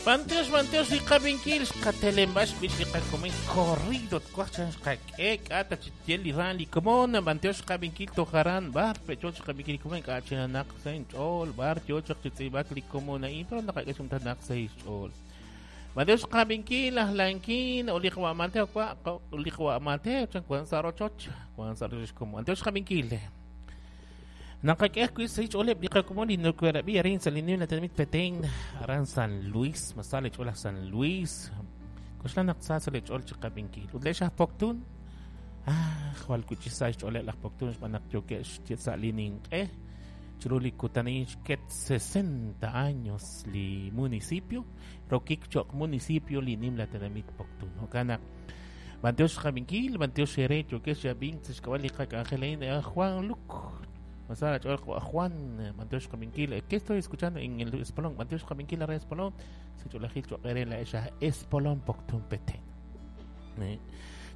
B'antiox, b'antiox li qab'inkil xqatelenb'ax b'ich li qakomon corrido twaj chan xqak'e k'a ta chi tyel li ran li komon b'antiox xqab'inkil toj aran b'ar pecho xqab'inkil li komon k'a chinanaq sa' inch'ool b'ar yo chaq chi tz'iib'ak li komon a'in pero naqak'e xumtanaq sa' ixch'ool. B'antiox xqab'inkil laj Lankin o li qawa' Mateo wa li qawa' Mateo chan wan sa' rochoch wan sa' rochoch komon. B'antiox xqab'inkil. Naqak'e ajwi' sa' xch'ooleb' li qakomon li nokoorab'i arin sa' li nimla tenamit Petén, aran San Luis, ma sa' li ch'ool aj San Luis. K'oxla naq sa sa' li ch'ool chi qab'inkil. Ut le'x aj Poktun, ah, jwal wi' chi sa xch'ooleb' laj Poktun xb'aan naq yookeb' sa' li ninq'e chiru li kutan xket 60 años li municipio, rokik cho'q municipio li nimla tenamit Poktun. Jo'kan naq b'antiox xqab'inkil, b'antiox eere yookex chi ab'ink sa' xk'ab'a' li qak'anjel a'in, Juan Luc. Masala ch'ool Juan, b'antiox xqab'inkil. ¿Qué estoy escuchando en el Espolón? B'antiox xqab'inkil ara Espolón. Sa' ch'oolajil cho'q eere la'ex aj Espolón Poktun Petén.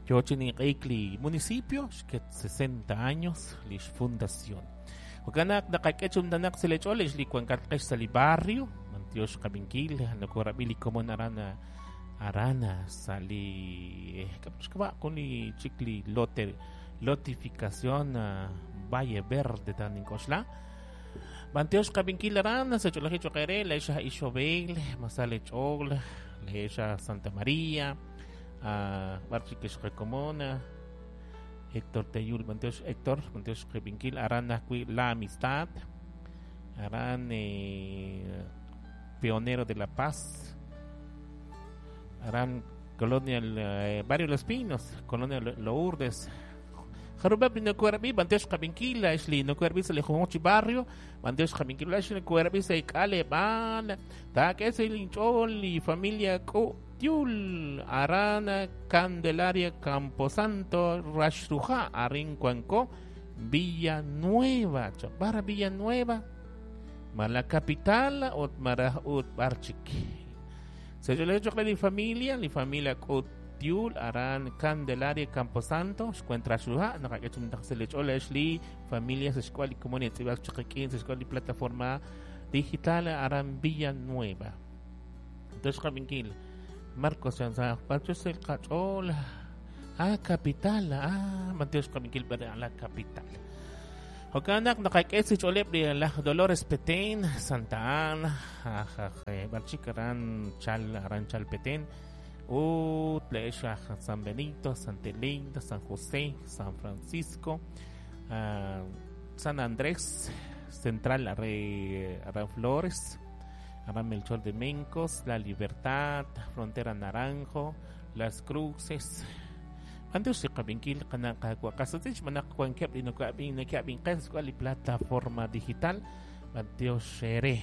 Yo chi ninq'ehik li municipio, xket 60 años li xfundación. Jo'kan naq naqak'e chumtanaq sa' li ch'ool li wankatqex sa' li barrio, b'antiox xqab'inkil, nokorab'i li komon aran arana sa' li xk'ab'a' jun li chik li lote lotificación Valle Verde tan nink'oxla. B'antiox xqab'inkil aran sa' ch'oolajil cho'q eere le'x aj Ixobel, masal ch'ool, le'x aj Santa María, b'ar chik xqakomon Héctor Teyul, b'antiox Héctor, b'antiox xqab'inkil aran ajwi' La Amistad, aran Pionero de la Paz, aran Colonia Barrio Los Pinos, Colonia Lourdes. Jarub'eb' li nokoorab'i, b'antiox xqab'inkil, la'ex li nokoorab'i sa' li junjunq chi barrio, b'antiox xqab'inkil, la'ex li nokoorab'i sa' k'aleb'aal, taak'e sa' inch'ool li familia K'utyul, aran Candelaria Camposanto, Raxruja, arin wanko, Villa Nueva, b'ar Villa Nueva, ma la capital ut maraj ut b'ar chik. Sa' ch'oolej cho'q re li familia K'utyul, aran Candelaria Camposanto, xkuent Raxruja, naqak'e chumtaq sa' li ch'ool le'x li familia sa' xk'ab'a' li komon tz'iib'ak chaq qik'in sa' xk'ab'a' li plataforma digital aran Villa Nueva. Entonces xqab'inkil Marcos chan sa' b'antiox sa' qach'ool ah capital ah b'antiox xqab'inkil b'ar la capital. Jo'kan naq naqak'e sa' xch'ooleb' li laj Dolores Petén, Santa Ana, aj b'ar chik aran chal aran chal Petén, ut le'x aj San Benito, Santa Elena, San José, San Francisco, San Andrés, Central aran Flores, aran Melchor de Mencos, La Libertad, Frontera Naranjo, Las Cruces. B'antiox li qab'inkil qana' qaawa' qasutich xb'aan naq wankeb' li noko'ab'in neke'ab'in qe sa' li plataforma digital b'antiox eere.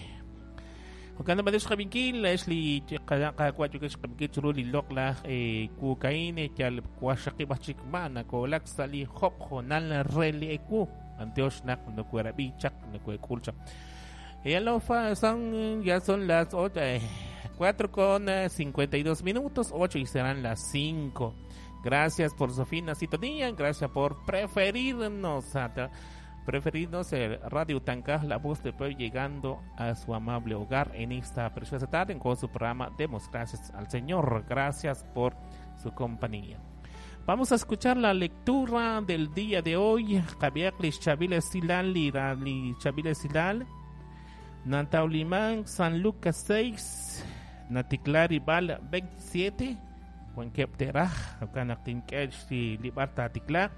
Jo'kan naq b'antiox qab'inkil la'ex li qana' qaawa' yokex qab'inkil chiru li loq'laj kuukain yal waxaqib' aj chik ma nakoolak sa' li job' joonal re li ewu. B'antiox naq nokoorab'i chaq nokoek'ul chaq. Ya lo son, ya son las 8, 4:52 minutos, 8 y serán las 5. Gracias por su fina sintonía, gracias por preferirnos, preferirnos el Radio Tancaj, la voz del pueblo, llegando a su amable hogar en esta preciosa tarde con su programa Demos Gracias al Señor. Gracias por su compañía. Vamos a escuchar la lectura del día de hoy. Javier Chavile Silal, Chavile Silal, Nantaulimán, San Lucas 6, Natiklari Bal 27, Juan Kepteraj, jo'kan naq tink'e li b'ar taatiklaaq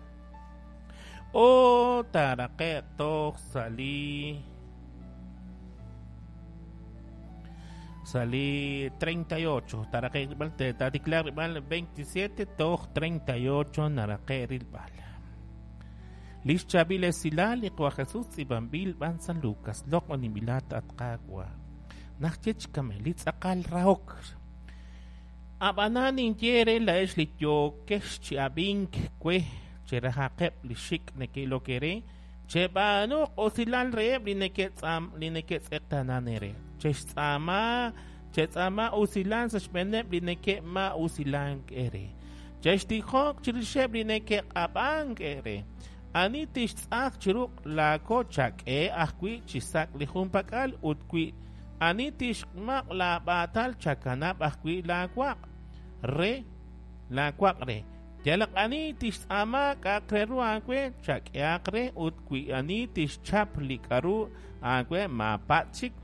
o taaraqe'q toj sa' li 38, taaraqe'q rilb'al taatiklaaq rilb'al 27 toj 38 naraqe'q rilb'al. Li xchaab'il esilal li Qwa Jesus tz'iib'anb'il b'an San Lucas, loq'oninb'ilat at Qaawa'. Najye chikame li tz'aqal rahok. Ab'anan ninye re la'ex li yookex chi ab'ink we cherajaqeb' li xik' neke'ilok eere, cheb'aanuq usilal reheb' li neke'tz'aam li neke'tz'eqtanan eere. Chextz'aama chetz'aama usilal sa' xb'eeneb' li neke'ma'usilank eere. Chextijoq chirixeb' li neke'q'ab'ank eere. Ani tixtz'aq chiru laako chak'e ajwi' chi sak' li junpak'al ut wi Ani tixmaq' laab'aatal, chakanab' ajwi' laawaq' re laawaq' re. Yalaq ani tixtz'aama k'a'aq re ru aawe, chak'ehaq re, ut wi ani tixchap li k'aru aawe, maapatz' chik.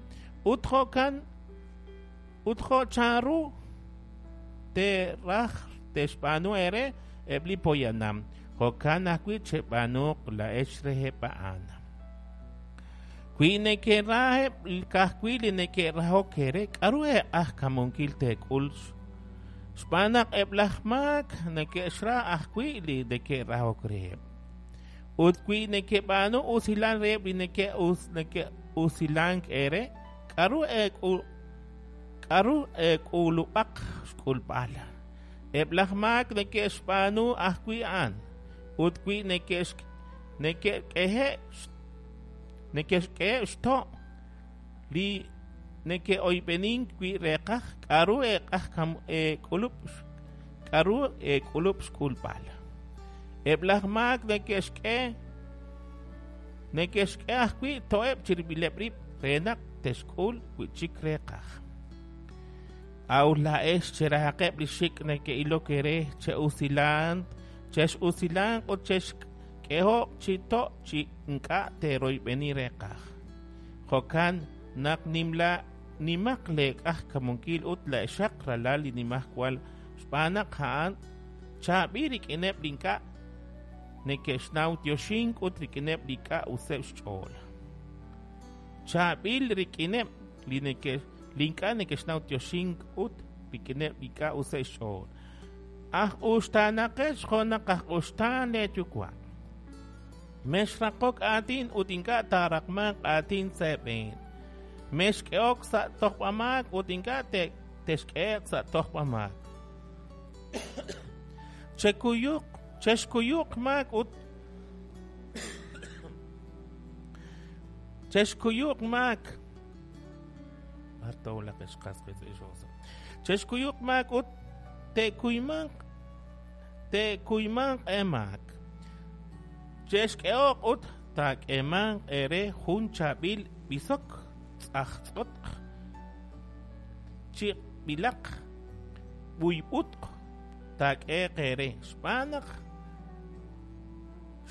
Ut jo'kan ut jo' chanru teeraj te'xb'aanu eere eb' li poyanam, jo'kan ajwi' cheb'aanuuq laa'ex reheb' a'an. Wi nekeraheb' ka'ajwi' li neke'rahok eere, k'aru eeq'ajkamunkil teek'ul? Xb'aan naq eb' laj maak neke'xra ajwi' li neke'rahok reheb'. Ut wi nekeb'aanu usilal reheb' li neke'usilank eere, k'aru k'aru eek'ulub'aq xk'ulb'al? Eb' laj maak neke'xb'aanu ajwi' a'an. Ut wi neke'k'ehe' neke'xk'eheb' xto' li neke'oyb'enink wi' reeqaj, k'aru eek'ulub' k'aru eek'ulub' xk'ulb'al? Eb' laj maak neke'xk'e neke'xk'e ajwi' to'eb' chirib'ileb' rib' re naq te'xk'ul wi' chik reeqaj. A'ut laa'ex cherahaqeb' li xik' neke'ilok eere, che'usilanq chex'usilanq ut chexk'ehoq chi to' chi ink'a' teeroyb'eni reeqaj. Jo'kan naq nimla nimaq leeq'ajkamunkil ut laa'exaq ralal li Nimajwal, xb'aan naq a'an chaab'il rik'ineb' li ink'a' neke'xnaw yoxink ut rik'ineb' li ink'a' useb' xch'ool. Chaab'il rik'ineb' li neke' li ink'a' neke'xnaw yoxink ut rik'ineb' li ink'a' useb' xch'ool. Aj uxtaanaqex jo' naq aj uxtaan leeyuwa'. Mexraqok aatin ut ink'a' taaraqmanq aatin sa' eeb'een. Mexk'ehok sa' tojb'amaak ut ink'a' texk'ehe'q sa' tojb'amaak. Chekuyuq chexkuyuq maak ut chexkuyuq maak. Chexkuyuq maak ut te'kuymanq te'kuymanq eemaak. Chexk'ehoq ut taak'eemanq eere jun chaab'il b'isok tz'ajtz'otq chiq'b'ilaq b'uyb'utq taak'ehe'q eere, xb'aan naq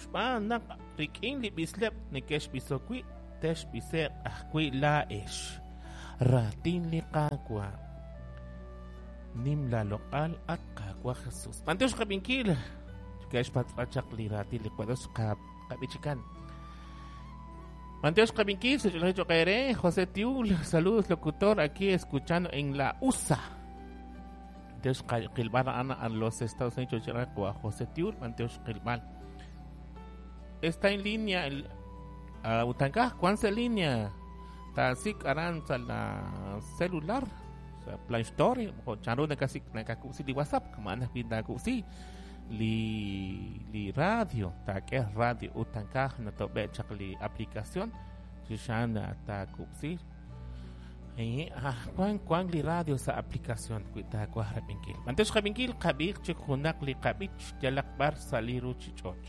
xb'aan naq rik'in li b'isleb' nekexb'isok wi', texb'ise'q ajwi' laa'ex. Raatin li Qaawa'. Nim laaloq'al, at Qaawa' Jesús. B'antiox qab'inkil. Ke'xpatz'a chaq li raatin li Dios qab'ichikan. B'antiox qab'inkil, se José Tiul, saludos locutor, aquí escuchando en la USA. B'antiox qilb'al a'an a los Estados Unidos, José Tiul, b'antiox qilb'al. Está en línea el Utankaj, ¿cuán se línea? Tasik aran sa la celular, sa Play Store, o chanru nakasik nakakusi li WhatsApp, kama pintakusi li li radio, taak'e radio utankaj natobe chaq li aplicación, xixan takupsi. Kwan kwan li radio sa aplicación wi taakwaj rab'inkil. B'antiox qab'inkil qab'iij chik junaq li qab'ich yalaq b'ar sa' li ruuchich'och'.